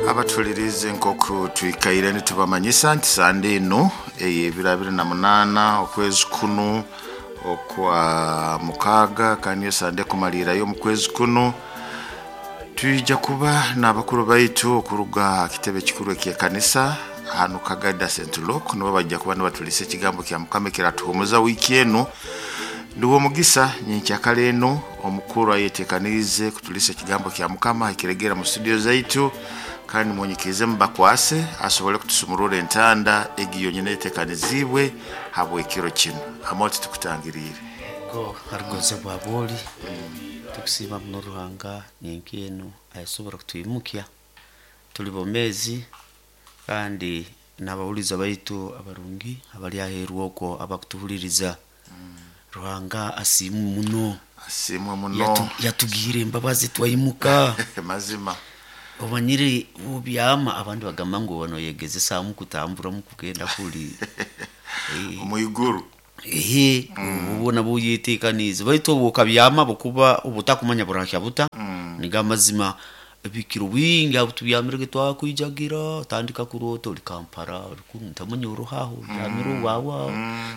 Abatulirize nk'oku twikaire nitubamanyisa nti sande enu ey'ebiro 28 okwezi kunu okwa mukaaga, kandi niyo sande ekumaliirayo omu kwezi kunu, twija kuba n'abakuru baitu okuruga ha kitebe ekikuru eky'ekanisa hanu Kagada St. Luke, nibo bajja kuba nibatuliisa ekigambo kya Mukama ekiratuhumuza wiiki enu. Ndiwe omugisa nyenkyakara enu omukuru ayetekaniize kutuliisa ekigambo kya Mukama ahikiregera mu studio zaitu, kandi munyikirize mubakwase asobole kutusumurura entanda egi yonyini etekaniziibwe habw'ekiro kinu. Amoti tukutangiriire. Go harugonze bwa bwoli tukusiima muno Ruhanga nyenka enu asobora kutwimukya tuli bomezi, kandi n'abawuliza baitu abarungi abali aheeru okwo abakutuhuliriza. Ruhanga asiimwe muno. Asiimwe muno. Yatugiire embabazi twaimuka. Mazima. Omanyire obyama abandi bagamba ngu oba noyegezesaamu kutambura mukugenda kuli omwiguru. Ehe, obwo nabwo oyetekaniize, baitu obu okabyama bukuba obutakumanya burahya buta. Nigo amazima, ebikiro bingi aho tubyamire twakwijagira otandika kuroota ori Kampala, ori kunu ntamanya ori haho obyamire owaawe aho.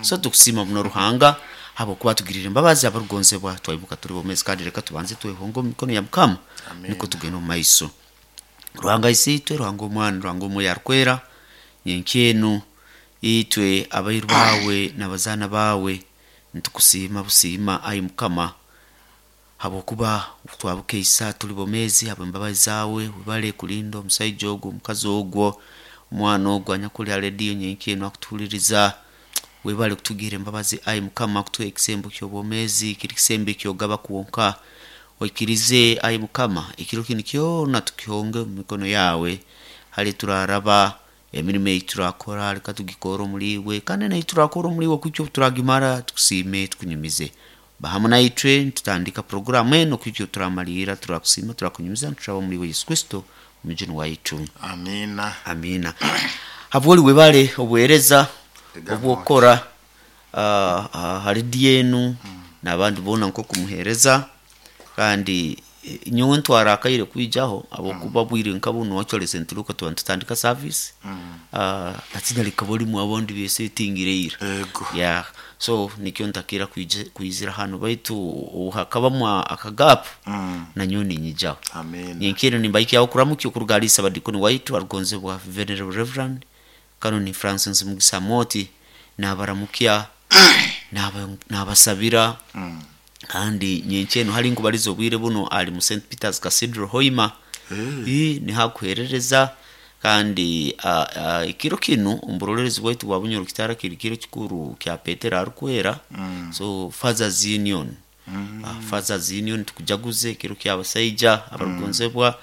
So tukusiima muno Ruhanga habwokuba atugiriire embabazi abarugonzebwa twaimuka tuli bomezi, kandi leka tubanze twehonge omu mikono ya Mukama nukwo tugende omu maiso. Ruhanga Isiitwe, Ruhanga Omwana, Ruhanga Omwoyo Arukwera, nyenkya enu itwe abairu baawe n'abazaana baawe nitukusiima busiima ai Mukama, habwokuba twabukeisa tuli bomezi habw'embabazi zaawe. Webale kulinda omusaija ogu, omukazi ogwo, omwana ogu anyakuli ha rediyo nyenkya enu akutuhuliriza. Webale kutugira embabazi ai Mukama, kutuha ekisembo ky'obwomezi, kiri kisembo ekyogaba kwonka. Oikirize ai Mukama ekiro kinu kyona tukihonge omu mikono yaawe, hali turaraba emirimo ei turakora leka tugikore omuli iwe, kandi nei turakora omuli iwe kuhikya obu turagimara tukusiime tukunyumize. Ba hamu naitwe nitutandika puroguramu enu kuhikya obu turamaliira, turakusiima turakunyumiza nitushaba omuli iwe Yesu Kristo omujuni waitu. Amiina. Amiina. Habwoli webale obuheereza obwokukora ha rediyo enu n'abandi boona nk'okumuheereza, kandi nyowe ntwara akaire kwijaho habwokuba obwire nka bunu actually St. Luke tuba nitutandika service, hati rikaba orimu abandi besetingire ira. Ego. Yeah. So nikyo ntakira kwizira hanu, baitu hakabamu akagapu nanyowe ninyijaho. Amiina. Nyenkere nimbaikyaho okuramukya okuruga hali Ssabadiikoni waitu arugonzebwa Venerable Reverend Canon Francis Mugisa Amooti, nabaramukya nabasabira, kandi nyenkya enu hali nkubaliza obwire buno ali mu St. Peter's Cathedral Hoima. Niho akuheerereza, kandi ekiro kinu omu burolerezi bwaitu bwa Bunyoro Kitara kiri kiro kikuru kya Petero Arukwera. So Fathers Union, Fathers Union tukujaguze ekiro ky'abasaija abarugonzebwa,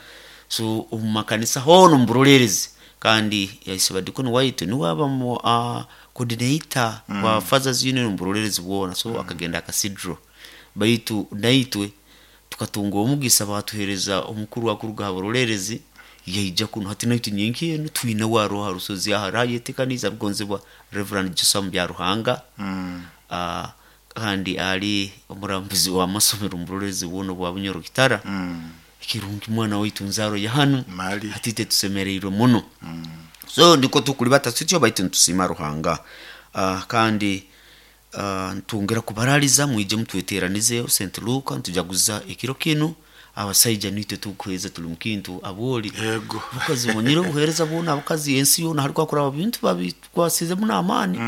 so omu makanisa hoona omu burolerezi, kandi Ssabadiikoni waitu niwe aba coordinator wa Fathers Union omu burolerezi bwona, so akagenda Cathedral. Baitu naitwe tukatunga omugisa baatuheereza omukuru akuruga ha burolerezi yaija kunu, hati naitwe nyenkya enu twine we aroho ha rusozi aho arayetekaniize arugonzebwa Reverend Joshua Byaruhanga, kandi ali omurambuzi w'amasomero omu burolerezi bwona obwa Bunyoro Kitara. Ekirungi mwana waitu nzaaro ya hanu, Mali. hati itwe tusemeriirwe muno. So ndiko tukulibata tutyo, baitu nitusiima Ruhanga. Kandi ntwongera kubaraliza mwije mutweteranizeho St. Luke nitujaguza ekiro kinu, abasaija nitwe tukuheereza tuli mu kintu abwoli. Ego. Obukazi omanyire obuheereza bwona abakazi ensi yoona hali kwakuraba bintu babikwasizemu n'amaani.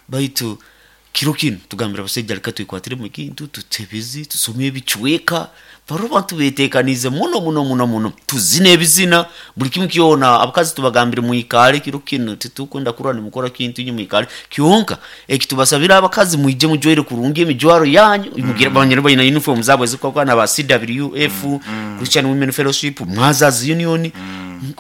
Baitu kiro kinu tugambira abasaija leka twekwatiremu ekintu, tutebeze, tusome ebicweka, barole abantu betekaniize muno muno muno muno, tuzine ebizina, buli kimu kyona. Abakazi tubagambire mwikale kiro kinu, titukwenda kurora nimukora kintu, inywe mwikale kyonka. Ekitubasabira abakazi mwije mujwaire kurungi emijwaro yanyu, mugire banyine baina uniform zaabo ezikukwakwana ba CWF, Christian Women Fellowship, Mothers Union,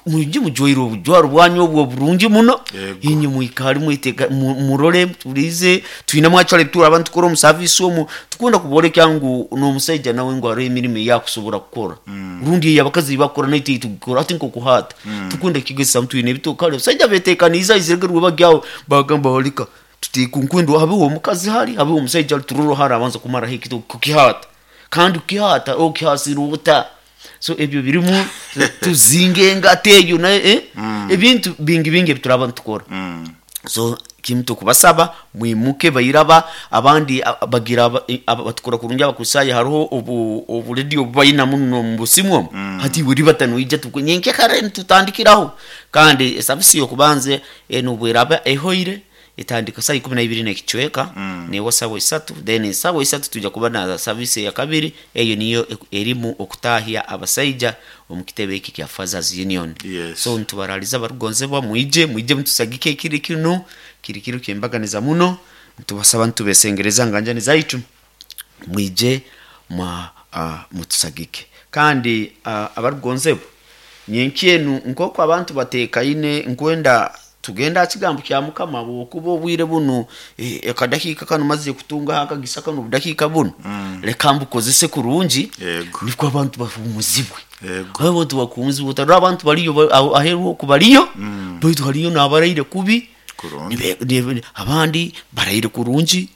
mwije mujwaire obujwaro bwanyu obwo oburungi muno. Ego. Inywe mwikale mweteka murole tulize twinemu actually turaba nitukora omu service omu tukwenda kuboleka ngu n'omusaija nawe ngu haroho emirimo eyakusobora kukora, rundi ei abakazi bakukora naitwe ei tukukora hati nk'okuhaata. Tukwenda kukigezesa twine ebitooke hali abasaija betekaniize aizire rwebagyo aho bagamba leka tuteeke nkwenda habeho omukazi hali habeho omusaija hali turole hali abanza kumaraho ekitooke kukihaata, kandi kukihaata okihasire ota. So ebyo birimu tuzinga engata eyo nayo, ebintu bingi bingi ebituraba nitukora. So kimu tukubasaba mwimuke bairaba abandi bagira batukora kurungi abakusaaya hariho obu oburedio obubayina muno omu busimu omu. Hati iwe ribata noija nyenkya kare nitutandikiraho. Kandi esabisi y'okubanza enu obweraba ehoire etandika saa 12 n'ekicweka, neewa saawa 3, then saawa 3 twija kuba na service eyakabiri, eyo niyo erimu okutahya abasaija omu kitebe eki kya Fathers Union. Yes. So nitubaraliza abarukugonzebwa mwije mwije mutusagike ekiro kinu, kiri kiro ky'embaganiza muno, nitubasaba nitubesengereza nganjani zaitu mwije mutusagike. Kandi abarukugonzebwa nyenkya enu nk'oku abantu batekaine nkwenda tugenda aha kigambo kya Mukama habwokuba obwire bunu, akadakiika kanu mazire kutungaho akagisa kanu obudakiika bunu, leka mbukozese kurungi Yego. nukwo abantu bahuumuzibwe. Yego. Abantu bakuhumuzibwe otarora abantu bariyo aheeru oku bariyo, baitu hariyo n'abaraire kubi, Kurungi. Abandi baraire kurungi,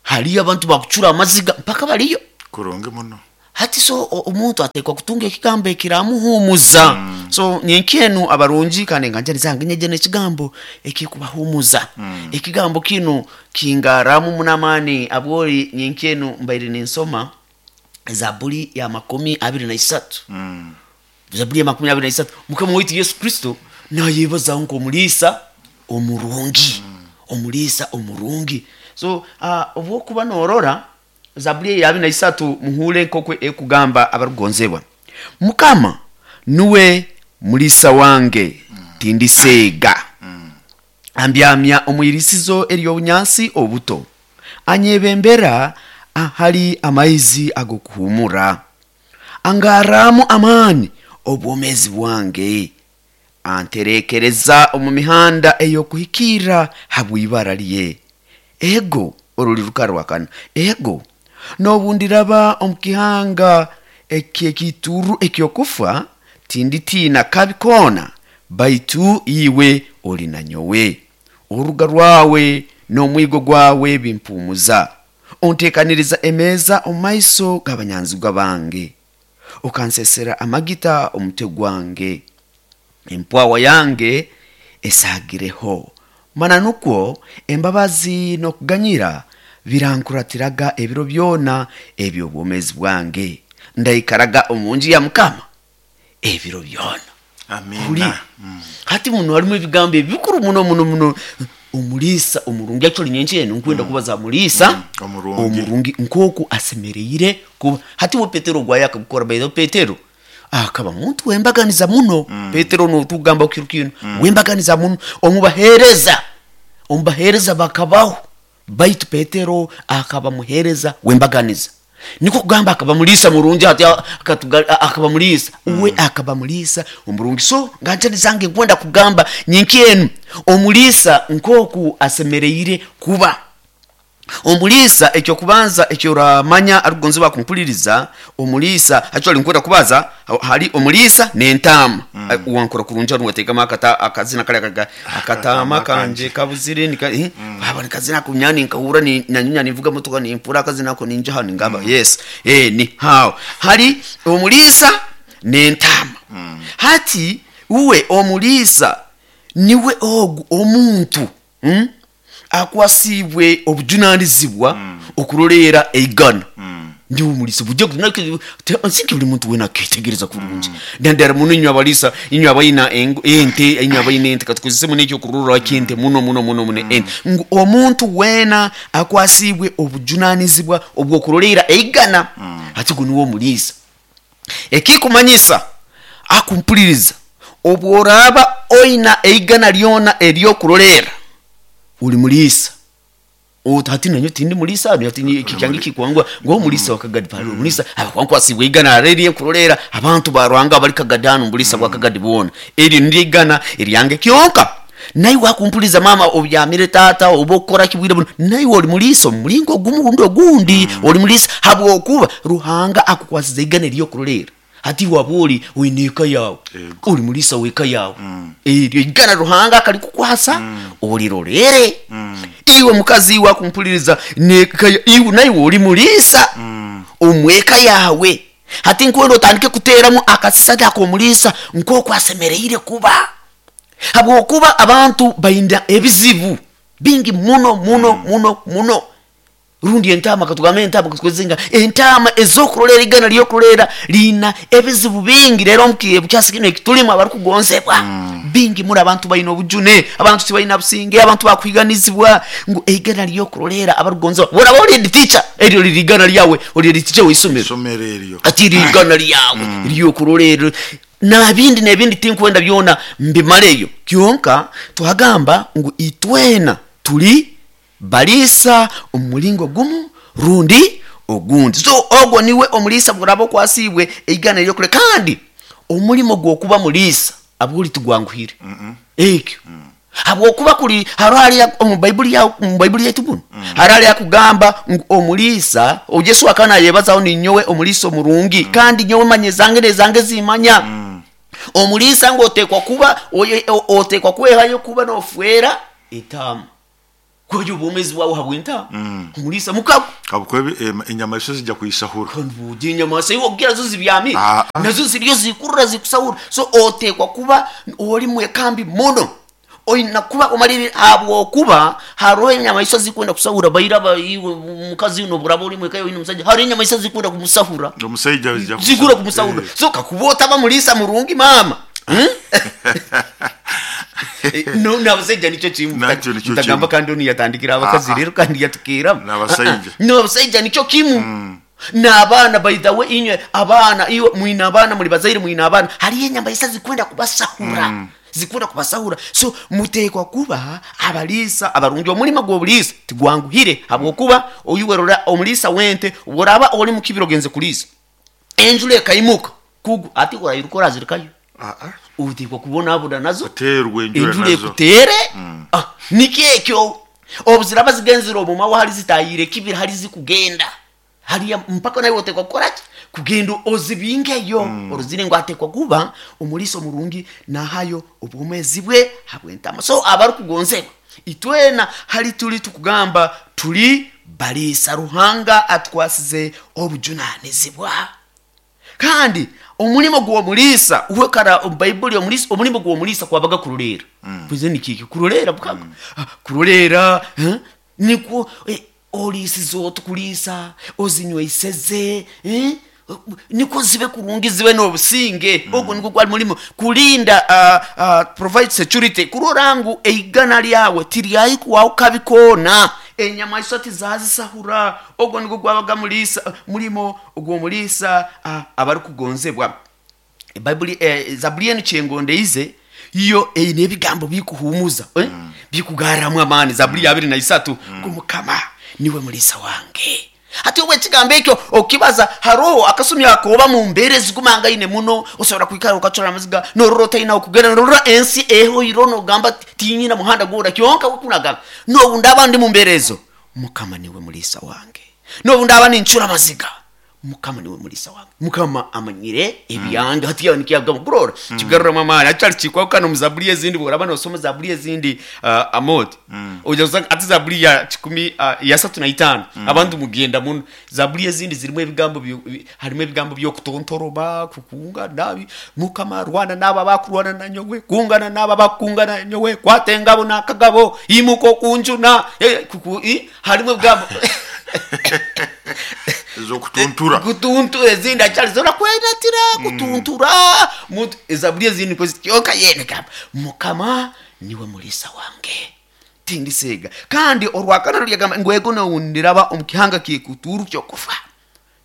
hariyo abantu bakucura amaziga mpaka bariyo. Kurungi muno. Hati so omuntu atekwa kutunga ekigambo ekiramuhumuza. So nyenkya enu abarungi kandi enganjani zange nyeje n'ekigambo ekikubahuumuza. Ekigambo kinu kingaramu muno amaani abwori nyenkya enu mbaire ninsoma Zaburi ya 23. Zaburi ya 23 Mukama waitu Yesu Kristo nayebazaho nk'omuliisa omurungi. Omuliisa omurungi. So obwokuba norora Zaburi ya 23 muhure nk'oku ekugamba abarukugonzebwa. Mukama nuwe muliisa wange, tindiseega. Ambyamya omu irisizo ery'obunyansi obuto. Anyebembera ahali amaizi ag'okuhumura. Angarramu amaani obwomezi bwange. Anterekereza omu mihanda ey'okuhikirra habw'ibara lye. Ego oruli rukarwakana. Ego n'obundiraba omu kihanga eky'ekiituuru eky'okufa, tinditiina kabi koona, baitu iwe oli na nyowe. Oruga rwawe n'omwigo gwawe bimpumuza. Onteekaniriza emeeza omu maiso g'abanyanzigwa bange. Okansesera amagita omutwe gwange. Empwawa yange esaagireho. Mana nukwo embabazi n'okuganyira birankuratiraga ebiro byona eby'obwomezi bwange. Ndaikaraga omu nju ya Mukama ebiro byona. Amina. Hati muno harimu ebigambo ebikuru muno muno muno. Omuliisa omurungi actually nyenkya enu nkwenda kubaza muliisa Omurungi. Omurungi nk'oku asemereire kuba. Hati we Petero gwaye akagukora, by the way Petero akaba muntu wembaganiza muno. Petero notugamba kiro kinu wembaganiza muno omubahereza, omubahereza bakabaho, baitu Petero akaba muhereza wembaganiza. Niko kugamba akaba muliisa murungi, hati akaba muliisa uwe akaba muliisa omurungi. So nganjani zange nkwenda kugamba nyenkya enu omuliisa nk'oku asemereire kuba. Omuliisa ekyokubanza ekyoramanya arukugonzebwa kumpuliriza, omuliisa actually nkwenda kubaza hari omuliisa n'entaama. Wankora kurungi hanu wateekamu akazina kari akataama kanje kabuzire nika, haba nikazina ako nyani nkahura ni nanyunya nivuga motoka nimpura akazina ako ninja hano ngamba yes, ni hao hari omuliisa n'entaama. Hati uwe omuliisa niwe ogu omuntu, akwasibwe obujunanizibwa okuroleera eigana. Ndiwe omuliisa bujja nsinki buli muntu wena aketegereza kurungi. Nandara muno inywe abalisa, inywe abayina ente, inywe abayina ente katukozese muno ekyokurorra ky'ente muno muno muno muno ente. Ngu omuntu wena akwasibwe obujunanizibwa obw'okuroleera eigana. Hati gu niwe omuliisa. Ekikumanyisa akumpuliriza obworaba oina eigana lyona ery'okuroleera uli muliisa. Hati nanyo tindi muliisa, hati ni kyange kikwangwa ngo muliisa wakagadi pale muliisa abakwankwasibwe igana areri kuroleera abantu barwanga bali kagadano muliisa bwa kagadi bona eri ndi igana eryange kyonka. Naye wakumpuliza mama obyamire tata obokora kibwire buno, naye oli muliisa omulingo gumu gundi ogundi oli muliisa habwokuba Ruhanga akukwasiza igana eryokuroleera. Hati waboli oine eka yawe, oli muliisa w'eka yawe, eryo igana Ruhanga akarikukwasa olirorere. Iwe mukazi iwe akumpuliriza neka iwe naye oli muliisa omweka yawe. Hati nkwenda otandike kuteeramu akasisani ak'omuliisa nk'oku asemereire kuba, habwokuba abantu baina ebizibu bingi muno muno muno muno. Rundi entaama, katugambe entaama, katukozese entaama ez'okurolera, igana ly'okurolera liina ebizibu bingi. Rero omu kyasa kinu ekitulimu, abarukugonzebwa, bingi muno abantu baina obujune, abantu tibalina businge, abantu bakuhiganizibwa, ngu eigana ly'okurolera abarukugonzebwa. Boraba oli head teacher, eryo liri igana lyawe, oli head teacher w'isomero. Isomero eryo. Ati rigana lyawe lyokurolera nabindi nebindi, tinkwenda byona mbimaleyo. Kyonka twagamba ngu itwena tuli baliisa omu mulingo gumu rundi ogundi. So ogwo niwe omuliisa bworaba okwasiibwe eigana eryokule. Kandi omulimo gw'okuba muliisa abwoli tigwanguhire ekyo, habwokuba kuli haro hali omu Baibuli yawe, mu Baibuli yaitu muno, haro hali akugamba ngu omuliisa o Yesu akaba nayebazaho, ninyowe omuliisa omurungi, kandi nyowe manya ezange nezange zimanya. Omuliisa ngu otekwa kuba otekwa kwehayo kuba nofwera entaama, kweyo obwomezi bwawe habw'entaama. Omuliisa mukago. Habwokuba enyamaiswa zijja kuyisahura. Kandi enyamaiswa iwe ogira zo zibyamire, Ah, ah. nazo ziriyo zikurra zikusahura. So otekwa kuba oli mwekambi muno, oina kuba omalire, habwokuba haroho enyamaiswa zikwenda kusahura. Bairaba iwe mukazi uno, buraba oli mweka oine omusajja, hariho enyamaiswa zikwenda kumusahura. Omusaija zijja. Zikura kumusahura. So kakuba otaba muliisa murungi mama, No, n'abasajja nikyo kimu. Nakyo nikyo Ntagamba kimu. kandi onu yatandikira abakazi, Ah, ah. rero kandi yatukiramu. N'abasajja. N'abasajja nikyo kimu, n'abaana. By the way, inywe abaana, iwe mwina abaana, muli bazaire, mwina abaana, hariyo enyamaiswa zikwenda kubasahura, zikwenda kubasahura. So mutekwa kuba abaliisa abarungi. Omulimo gw'obuliisa tigwanguhire, habwokuba oyuwerora omuliisa wente, oraba oli mukibiro ogenze kuliisa, enjura ekaimuka kugu, ati orairuka orazirikayo? Ah, ah. Utekwa kubonabona nazo. Aterwa enjura. Enjura Nazo. ekutere. Ah, nikyo ekyo obu ziraba zigenzere omumawa, hali zitayire kibira, hali zikugenda haliya mpaka nawe otekwa kukoraki? Kugenda ozibingeyo. Oruzire ngu atekwa kuba omuliisa omurungi, nahayo obwomezi bwe habw'entama. So abarukugonzebwa, itwena hali tuli tukugamba tuli baliisa. Ruhanga atwasize obujunanizibwa, kandi omulimo gw'omuliisa uwekara omu Baibuli, omuliisa, omulimo gw'omuliisa kwabaga kurolera. Kuze nikiki kurolera bukaga? Ah, kurolera, eh? Nikwo oliisize oti kuliisa, ozinyweiseze, eh? Nikwo zibe kurungi, zibe n'obusinge. Ogwo nigwo gwali mulimo, kulinda, provide security, kurora ngu eigana lyawe tiryayikuwaho kabi koona, enyamaiswa tizazisahura. Ogwo nigwo gwabaga muliisa, mulimo ogw'omuliisa. Abarukugonzebwa, Baibuli, zabuli enu kyengondeize iyo eine ebigambo bikuhumuza, eh? Bikugarramu amaani. Zabuli ya 23, ngu Mukama niwe muliisa wange. Hati obwo ekigambo ekyo okibaza, haroho akasumi akoba mu mbeera ezigumangaine muno, osobola kwikara okacora amaziga, norora otaina okugenda, norora ensi ehoire, nogamba tinyina muhanda gwora. Kyonka wekunagamba, nobu ndaba ndi mu mbeera ezo, Mukama niwe muliisa wange, nobu ndaba nincura amaziga, Mukama niwe muliisa wange, Mukama amanyire ebyange. Hati yawe nikyagamba kurora kigaruramu amaani akyali kikwahukana omu zabuli ezindi. Bworaba nosoma zabuli ezindi, amoti oja kusanga ati zabuli ya kikumi ya satu na itaano, abantu mugenda muno, zabuli ezindi zirimu ebigambo harimu ebigambo by'okutontoroba, kukunga nabi, Mukama rwana n'abo abakurwana na nyowe, kungana n'abo abakungana na nyowe, kwata engabo n'akagabo, imuka okunjuna, harimu ebigambo Ezokutuntura. Kutuntura. Ezindi akyali zora kwenatira kutuntura muntu. Ezabuli ezindi niko zityoka yene gamba Mukama niwe muliisa wange, tindisega. Kandi orwakana rulyagamba ngwego nowundiraba omu kihanga kikuturu kyokufa,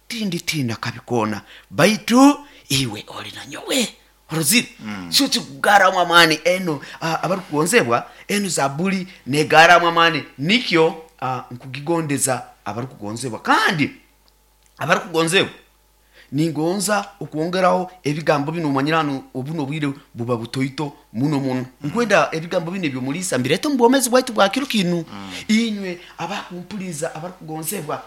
tinditina kabi koona, baitu iwe oli na nyowe. Orozire kyo kikugaramu amaani. Eno, abarukugonzebwa, eno zabuli negaramu amaani, nikyo nkugigondeza abarukugonzebwa. Kandi abarukugonzebwa, ningonza okwongeraho ebigambo bino. Omanyire hano obuno obwire buba butoito muno muno. Nkwenda ebigambo bino ebyomulisa mbirete omu bwomezi bwaitu bwa kiro kinu. Inywe abakumpuliza abarukugonzebwa,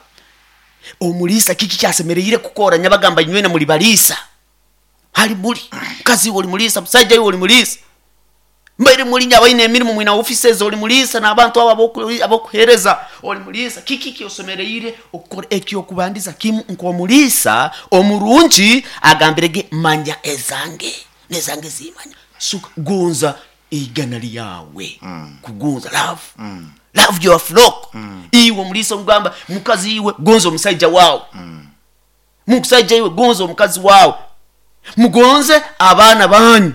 omuliisa kiki kyasemereire kukora? Nyabagamba inywena muli baliisa. Hali muli mukazi iwe oli muliisa, musaija iwe oli muliisa. Mbaire mulinya abaine emirimu mwina offices, oli mulisa n'abantu abo abokuhereza, oli mulisa. Kiki kyosomereire okukora? Ekyokubandiza kimu nk'omulisa omurungi agambirege, manya ezange nezange zimanya. Suka gonza igana lyawe, kugonza love, love your flock. Iwe omulisa omugamba mukazi, iwe gonza omusaija wawe, musaija iwe gonza omukazi wawe, mugonze abaana banyu,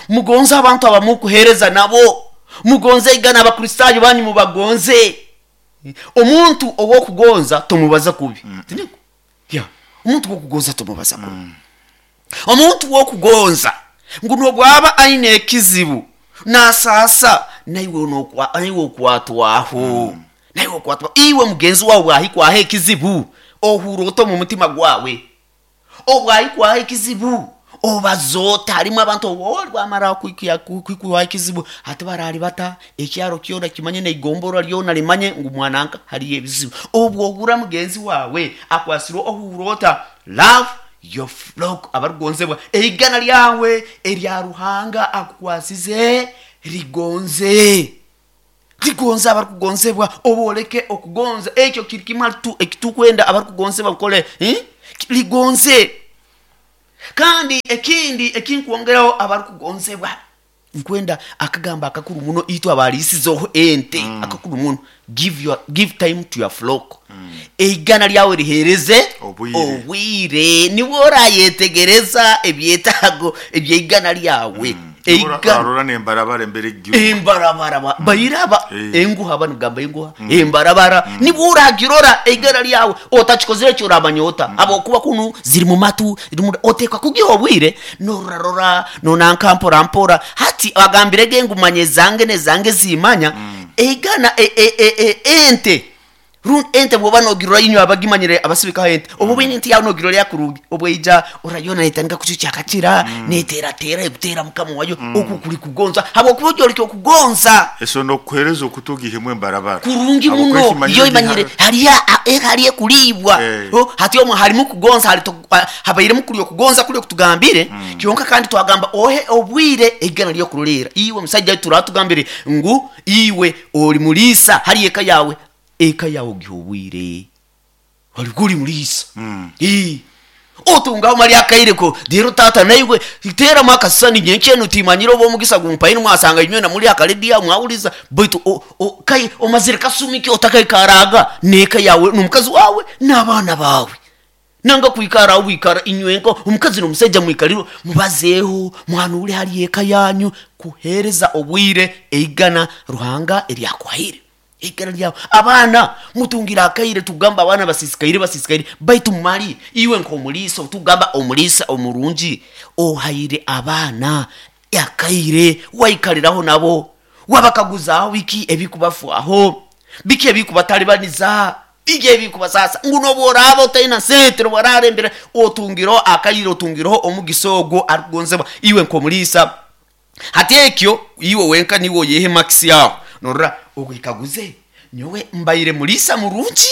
mugonze abantu abamukuhereza nabo, mugonze igana abakristaayo banyu, mubagonze. Omuntu owokugonza tomubaza kubi. Tiniko? Ya, omuntu wokugonza tomubaza kubi. Omuntu wokugonza ngu nobwaba aine ekizibu nasasa, naiwe naiwe okwatwaho, naiwe okwatwaho. Iwe mugenzi wawe bwahikwaho ekizibu ohura ota omu mutima gwawe? Obwahikwaho ekizibu obazoota? Harimu abantu oli bwamara kwikwaho ekizibu, hati barari bata ekyaro kyona kimanye neigombora lyona limanye ngu mwananka hariyo ebizibu. Obwo ohura mugenzi wawe akwasirwe ohura ota? Love your flock. Abarukugonzebwa, eigana lyawe erya Ruhanga akukwasize rigonze, rigonze. Abarukugonzebwa, oboleke okugonza. Ekyo kiri kimwe tu ekitukwenda abarukugonzebwa mukole, Ligonze. Kandi ekindi ekinkwongeraho, abarukugonzebwa, nkwenda akagamba akakuru muno itwe abalisizeho ente, akakuru muno, give time to your flock. Eigana lyawe rihereze obwire. Obwire niwe orayetegereza ebyetaago ebyeigana lyawe. Eigana arora nembarabara embere egihugu. Embarabara bairaba enguha banigamba enguha embarabara, nibwo oragirora eigana lyawe. Otakikozire ekyo oramanya ota? Habwokuba kunu ziri mu matu otekwa kugiha obwire, nororarora nonanka mpora mpora. Hati agambirege ngu manya ezange nezange zimanya. Eigana ente ente bwoba nogirora, inywe abagimanyire abasibikaho ente, oba oine ente yawe nogirora yakurungi, obweija orayona netandika kucukyakakira, neteratera ekutera mukama wayo. Oku kuli kugonza, habwokuba ojoleka okugonza. Eso nokuhereza okutugihemu embarabara. Kurungi Habwokuba muno. ekimanyire Iyo imanyire hariya ekulibwa. Oh, hati omwe harimu kugonza, habairemu kuli okugonza kuli okutugambire kyonka. Kandi twagamba ohe obwire eigana lyokurorera. Iwe musajja turatugambire ngu iwe oli mulisa hari eka yawe, eka yawe ogiha obwire, oli kuli mulisa. Otungaho mali akaireko rero tata naiwe teramu akasisani nyenkyenu timanyire oba omugisa gumpaire mwasanga inywena muli akarediya mwawuliza, baitu kai omazire kasumi ki otakaikaraga n'eka yawe n'omukazi wawe n'abaana bawe, nanga kwikara aho wikara inywenka omukazi n'omusaija, mwikaliro mubazeeho, mwanure hali eka yanyu, kuhereza obwire eigana Ruhanga eryakuhaire, eigana lyawe. Abaana mutungira akaire. Tugamba abaana basisikaire, basisikaire, baitu mali iwe nk'omuliisa, tugamba omuliisa omurungi, ohaire abaana akaire, waikaliraho nabo, wabakaguzaho biki ebikubafwaho, biki ebikubatalibaniza, biki ebikubasasa, ngu nobworaba otaina sente, nobwararembere, otungireho akaire, otungireho omugisa ogwo arikugonzebwa. Iwe nk'omuliisa, hati ekyo iwe wenka niwe oyehe makisi yaho, norora ogwekaguze, nyowe mbaire muliisa murungi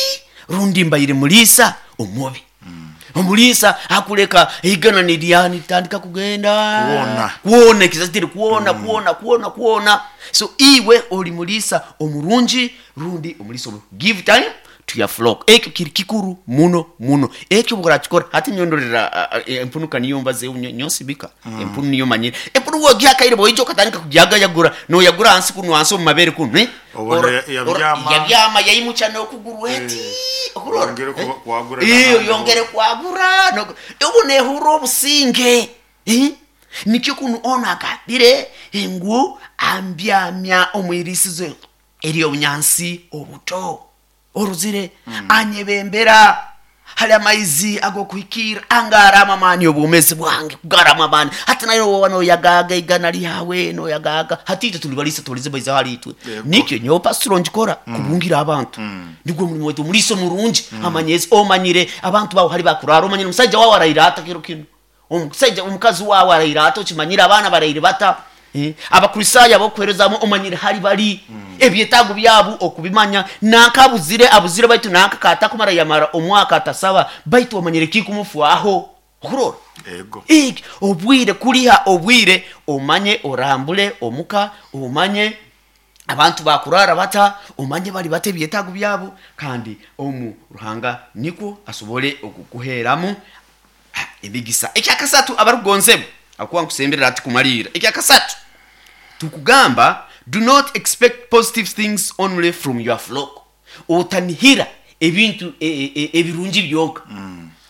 rundi mbaire muliisa omubi? Omuliisa akuleka eigana nirya nitandika kugenda Kuwona. Kuwona ekizazi tiri kuwona, kuwona, kuwona, kuwona. So iwe oli muliisa omurungi rundi omuliisa omubi? Give time to your flock. Ekyo kiri kikuru muno muno. Ekyo bworakikora, hati nyondorera empunuka niyo mbazeho nyonsibika empunu niyo manyire. Empunu wogiha akaire, bwoija okatandika kugyagayagura, noyagura hansi kunu, hansi omu mabere kunu, eh? Obona yabyama. Yabyama, yaimucha n'okuguru eti okurora. Yongere kwagura Iyo n'ahandi. Yongere kwagura obu nehurra obusinge, Eh? Nikyo kunu ono agambire ngu ambyamya omwirisizo ery'obunyansi obuto oruzire, anyebembera hali amaizi ag'okuhikirra, angarama amaani obwomezi bwange kugarama amaani. Hati nayo woba noyagaga igana lyawe, noyagaga. Hati itwe tuli balisa, tulize baiza hali itwe. Nikyo nyowe pasitoro ngikora kubungira abantu, nigwo mulimu waitu. Omuliisa omurungi amanyezi omanyire abantu bawe hali bakurara, omanyire omusajja wawe araire ata kiro kino, omusajja omukazi wawe araire ata, okimanyire abaana baraire bata, Abakristaayo abokuherezamu omanyire hali bali, ebyetaago byabu okubimanya, nanka abuzire abuzire, baitu nanka katakumara yamara omwaka atasaba, baitu omanyire kikumufwaho okurora. Ego. Iki, obwire kuliha obwire omanye orambule omuka, omanye abantu bakurara bata, omanye bali bata ebyetaago byabo, kandi omu Ruhanga nikwo asobole okukuheeramu emigisa. Ekyakasatu abarukugonzebwa, akuba nkusemberera ati kumaliira. Ekyakasatu tukugamba, do not expect positive things only from your flock. Otanihira ebintu ebirungi byonka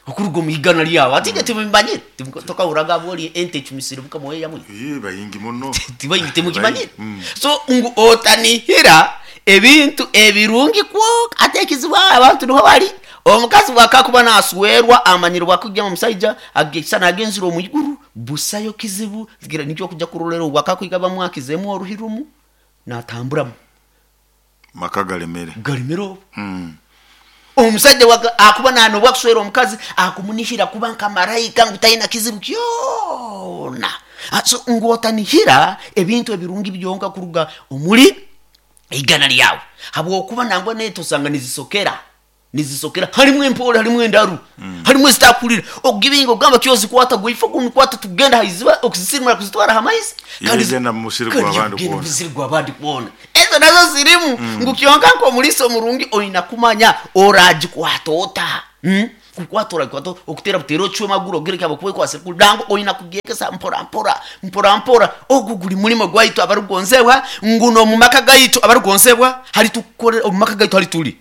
okuruga omu igana lyawe. Ati timubimanyire, tokahuraga bwoli ente ecumisire mukama we yamwe. Bayingi muno. Tibayingi, timukimanyire. So ngu otanihira ebintu ebirungi kwonka. Ate ekizibu abantu niho bali. Omukazi bwakakuba naswerwa amanyire bwakujja omusaija agesa nagenzire omu iguru, busayo kizibu gira nikyo kujja kurolera obwakakwiga bamwakizemu oruhirumu natamburamu maka galemere galemere obu. Omusajja akuba nanobwa kuswera omukazi akumunihira kuba nka marayika ngu talina kizibu kyona. So ngu otanihira ebintu ebirungi byonka kuruga omuri igana lyawe, habwokuba nangwa neto osanga nizisokera nizisokera, harimu empore, harimu endaru, harimu ezitakurira ogibinga ogamba kyozikwata gwifa gunikwata tugenda haiziba okuzisirimura kuzitwara hamaizi. Yegenda mu musiri gw'abandi Yegenda mu kwona. musiri gw'abandi kwona. Ezo nazo zirimu ngu kyonka nk'omulisa omurungi oyina kumanya oragikwata ota. Kukwata oragikwata okutera butera ocwe maguru ogere kyabo kwekwasa kudango oyina kugyekesa mpora mpora mpora mpora. Ogu guri mulimo gwaitu abarugonzebwa, nguno mu maka gaitu abarugonzebwa hari tukore omu maka gaitu hari tuli.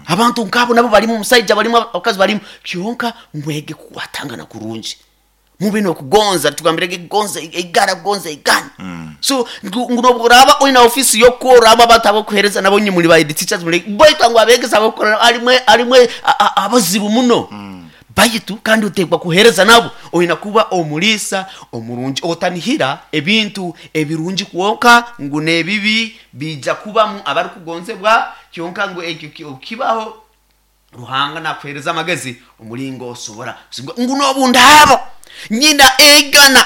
Abantu nkabo nabo barimu omusaija barimu abakazi barimu, kyonka mwege kukwatangana kurungi, mube nokugonza, tugambirege gonza igara gonza igana. So ngu nobworaba oyina ofisi yokukora abo abantu abokuhereza nabo nye muri ba head teachers muri boita ngu abegesa abokukora arimwe arimwe abazibu muno. Baitu kandi otekwa kuhereza nabo oyina kuba omulisa omurungi, otanihira ebintu ebirungi kwonka ngu nebibi bija kubamu abarukugonzebwa, kyonka ngu ekyo kibaho Ruhanga nakuhereza amagezi omulingo osobora ngu nobundabo nyina eigana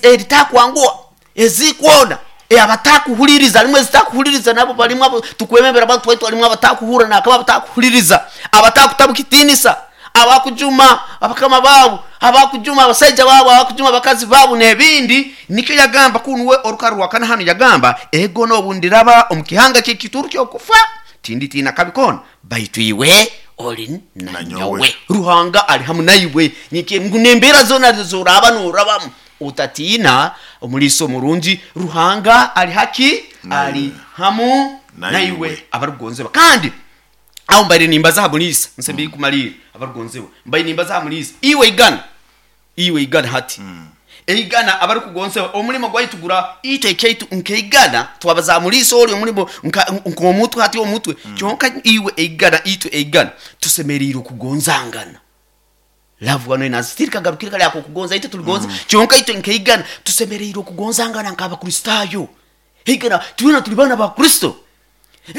eritakwangwa ezikwona abatakuhuliriza arimwe ezitakuhuliriza nabo barimu abo tukwemembera abantu baitu harimu abatakuhura nakaba abatakuhuliriza abatakutabukitinisa abakujuma abakama babo abakujuma abasaija babo abakujuma abakazi babo n'ebindi. Nikyo yagamba kunuwe orukaru rwa kana hano yagamba ego nobundiraba omu kihanga ky'ekituru ky'okufa tinditina kabi kona baitu iwe oli nanyowe. Ruhanga ali hamu naiwe ngu nembeera zona zoraba norabamu otatiina omuliisa omurungi Ruhanga ali haki ali hamu naiwe abarukugonzebwa. Kandi aho mbaire nimbaza ha muliisa nsembe kumalira abarukugonzebwa mbaire nimbaza ha muliisa iwe igana iwe igana hati eigana abarukugonzebwa omulimo gwaitu gura itwe ekyaitu nkeigana twabaza muliisa oli omulimo nk'omutwe hati omutwe kyonka iwe eigana itwe eigana tusemeriire okugonzangana. Love wano inazitiri kagarukire kali ako kugonza itwe tuligonza kyonka itwe nkeigana tusemeriire okugonzangana nk'Abakristaayo. Eigana twena tuli bana ba Kristo.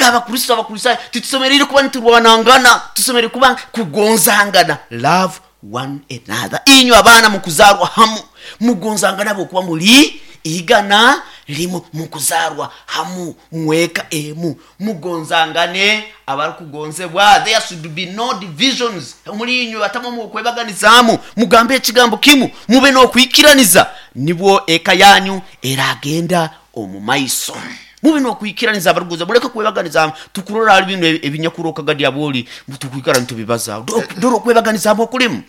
Abakristo Abakristaayo titusemeriire kuba niturwanangana, tusemeriire kuba kugonzangana. Love one another. Inywe abaana mukuzarwa hamu mugonzangana bokuba muli igana limu mukuzarwa hamu mweka emu mugonzangane abarukugonzebwa. There should be no divisions muri inywe batamo mukwebaganizamu, mugambe ekigambo kimu mube nokwikiraniza nibwo eka yanyu eragenda omu maiso. Mube nokwikiraniza abarukugonza muleke kwebaganizamu. Tukurora hali bino ebinyakuroka gadi aboli tukwikara nitubibaza dore okwebaganizamu okulimu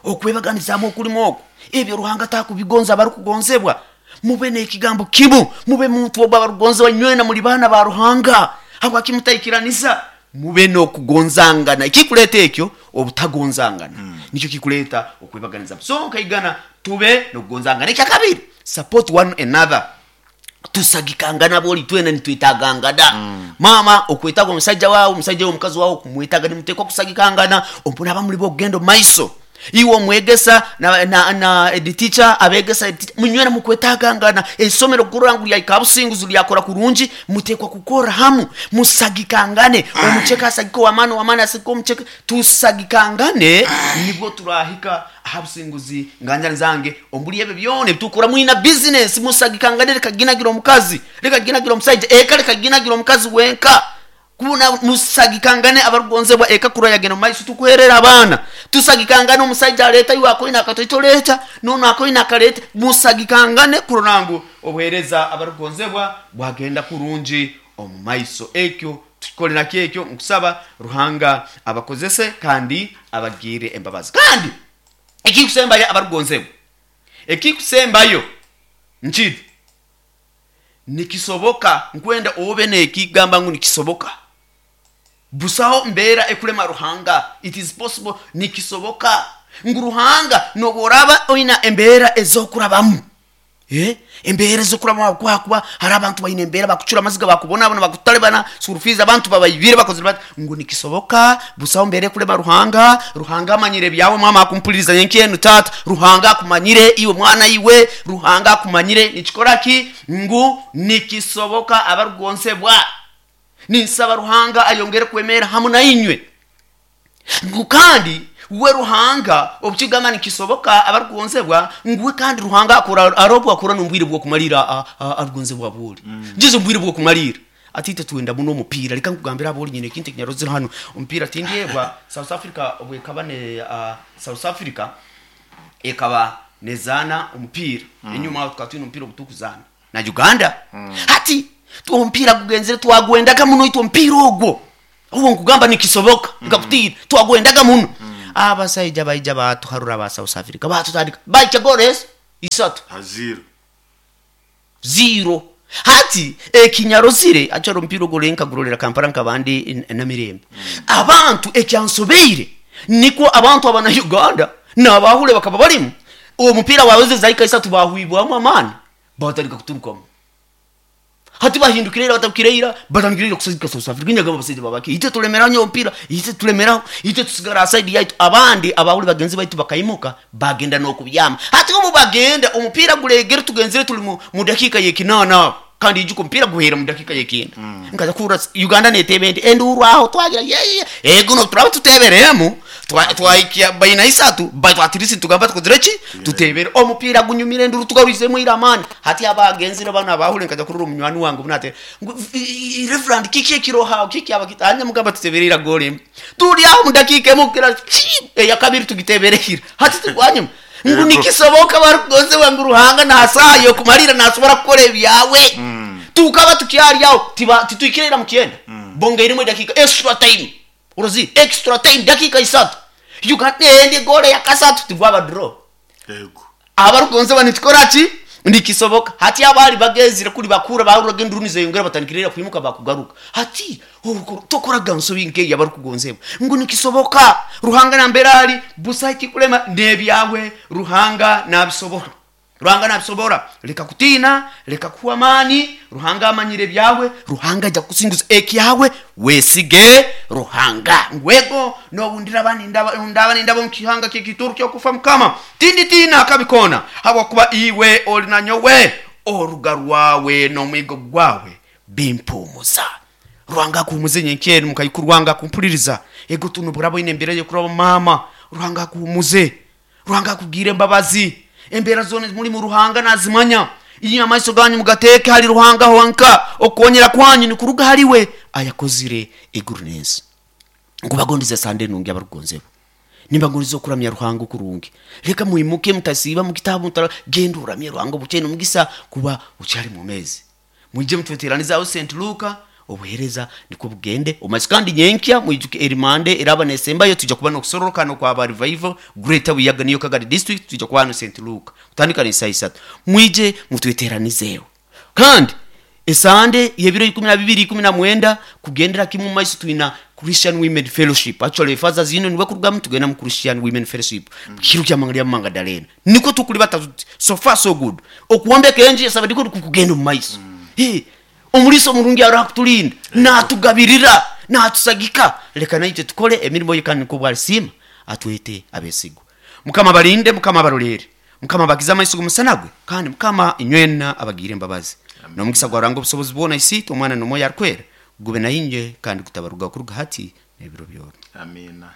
okwebaganizamu okulimu okwo ebyo Ruhanga takubigonza abarukugonzebwa. Mube n'ekigambo kimu mube muntu ogwo abarukugonzebwa nywena muri baana ba Ruhanga habwaki mutaikiraniza mube n'okugonzangana. Ekikuleta ekyo obutagonzangana nikyo kikuleta okwebaganizamu. So nkaigana tube n'okugonzangana. Ekyakabiri, support one another. Tusagikangana boli twena nitwetagangana. Mama okwetaga omusajja wawe, omusajja we omukazi wawe okumwetaga, nimutekwa kusagikangana ompuna abamuli bokugenda omu maiso. Iwe omwegesa na head teacher abegesa munywena mukwetagangana. Esomero kurora ngu lyaika businguzi lyakora kurungi mutekwa kukora hamu musagikangane. Omucheka asagika owamani owamani asagika omucheka, tusagikangane nibwo turahika aha businguzi nganjani zange ombuli ebyo byona ebitukora mwina business musagikangane. Reka ginagira omukazi, reka ginagira omusaija eka, reka ginagira omukazi wenka. Kubona musagikangane abarugonzebwa ekakura yagenda mumaiso tukuherera abaana. Tusagikangane omusajja aleeta iwe akoina akatoito leeta nono akoina akaleta, musagikangane kurora ngu obuheereza abarugonzebwa bwagenda kurungi omu maiso. Ekyo tukikolera kyekyo, nkusaba Ruhanga abakozese kandi abagirire embabazi. Kandi ekikusembayo abarugonzebwa, ekikusembayo nkiri nikisoboka, nkwenda obe nekigamba ngu nikisoboka. Busaho mbeera ekulema Ruhanga. It is possible, nikisoboka ngu Ruhanga nobworaba oina embeera ezokurabamu, embeera ezokurabamu, kuba hari abantu baine embeera bakucura amaziga, bakubonabona, bakutalibana, school fees abantu babaibire, bakozire bati, ngu nikisoboka. Busaho mbeera ekulema Ruhanga. Ruhanga amanyire ebyawe. Mama akumpuliriza nyenkyenu, tata, Ruhanga akumanyire iwe, mwana iwe, Ruhanga akumanyire. Nikikora ki ngu nikisoboka abarugonsebwa. Ninsaba Ruhanga ayongere kwemera hamu na inywe, ngu kandi we Ruhanga obukigamba nikisoboka abarugonsebwa, ngu we kandi Ruhanga akora arobwo akora n'obwire bw'okumalira arugonzebwa bwoli njizo obwire bw'okumalira atite twenda muno omupiira. Leka nkugambira aboli nyine ekintu ekinyarozire hano omupiira tindyebwa. South Africa obwekaba ne South Africa ekaba nezaana omupiira, enyuma aho tukaba twine omupiira ogutukuzana na Uganda. Hati omupiira gugenzere twagwendaga muno itwe omupiira ogwo, obwo nkugamba nikisoboka, nkakutiira twagwendaga muno. Abasaija baija batuharura ba South Africa, batutandika baikya goals 3 haziro 0. Hati ekinyarozire achari omupiira ogwo nkagurorera Kampala nkabandi namirembe. Abantu ekyansobeire nikwo abantu abana Uganda n'abahule bakaba balimu omupiira waweze zaika 3 bahwibwamu amaani batandika kuturukamu. Hati bahindukire ira, batabukire ira, batandikire ira kusazika South Africa. Nyagamba abasajja babaki ite tulemera nyo omupiira, ite tulemeraho, ite tusigara side yaitu. Abandi abahule bagenzi baitu bakaimuka bagenda n'okubyama. Hati obu bagenda omupiira gulegere tugenzere tuli mu dakika y'ekinana, kandi ijuka omupiira guhera mu dakika y'ekenda. Nkaza kuhurra Uganda netebe nti enduru aho twagira ye ego no turaba tuteberemu twaikia baina 3 baitu atirisi tugamba tukozire ki tutebere omupiira gunyumire enduru tugarwizemu ira amani. Hati abagenzire bana abahule nkaza kurura omunywani wange bunate Reverend kiki ekiroha kiki abakitanya mugamba tutebere ira gole turi aho mu dakika emu kira eya kabiri tugiteberehira. Hati turwanyuma ngu nikisoboka barugoze wangu Ruhanga nasayo kumalira nasobora kukora ebyawe. Tukaba tukyali aho titwikirira mu kyenda, bongeiremu edakika extra time, urozi extra time dakika 3 Uganda endi gole ya kasatu tigwaba draw. Yego abarugonze banitukora ki nikisoboka. Hati abali bagezire kuri bakura bahuraga induru nizeyongera batandikirira kwimuka bakugaruka. Hati tokoraga nsobi nke yabarukugonzebwa ngu nikisoboka. Ruhanga namberali busa kulema nebyawe Ruhanga nabisobora, Ruhanga nabisobora. Leka kutina, leka kuwa amani. Ruhanga amanyire byawe, Ruhanga ajja kukusinguza ekyawe, wesige Ruhanga. Ngwego nobundira bani ndaba ndaba mukihanga kyekituru kyokufa mukama tindi tina akabikona, habwakuba iwe oli nanyowe, oruga rwawe n'omwigo gwawe bimpumuza. Ruhanga akuhumuze nyenkyeni mukayikuru wange akumpuliriza ego tuno burabo ine embera yokuraba mama. Ruhanga akuhumuze, Ruhanga akugire embabazi. Embera zone muri mu Ruhanga nazimanya. Iyo amaiso ganyu mugateke hari Ruhanga honka, okonyera kwanyu ni kuruga hariwe ayakozire iguru n'ensi. Nkubagondize sande nungi abarugonzebo, nimbagondize okuramya Ruhanga kurungi. Leka muimuke mutasiba mu kitabu mutara genda uramye Ruhanga buchene mugisa kuba ucyari mu mezi. Mwije mutweteraniza aho St Luka obuhereza niko bugende omaiso. Kandi nyenkya mwijuke erimande eraba nesembayo tujja kuba nokusororokano kwa ba revival Greater Buyaga niyo Kagari district, tujja kuba hano St Luka kutandika ni saa 3. Mwije mutweteranizeho. Kandi esande yebiro 12 19 kugendera kimwe maiso twina Christian Women Fellowship. Actually Fathers Union niwe kurugamu tugenda mu Christian Women Fellowship kiro kya mangalia Mangadalena niko tukuli batatu. So far so good. Okuwombeka enji esaba ndiko kugenda mu maiso. Omuliso omurungi arakutulinda natugabirira natusagika. Leka naitwe tukole emirimo ye kandi niko bwalisima atwete abesigwa. Mukama balinde, Mukama barolere, Mukama bakiza amaiso g'omusana gwe, kandi Mukama inywena abagire embabazi n'omugisa gwa Ruhanga obusobozi bwona isiitwe omwana n'omwoyo arikwera gube na inye kandi gutabaruga kuruga hati n'ebiro byona. Amina.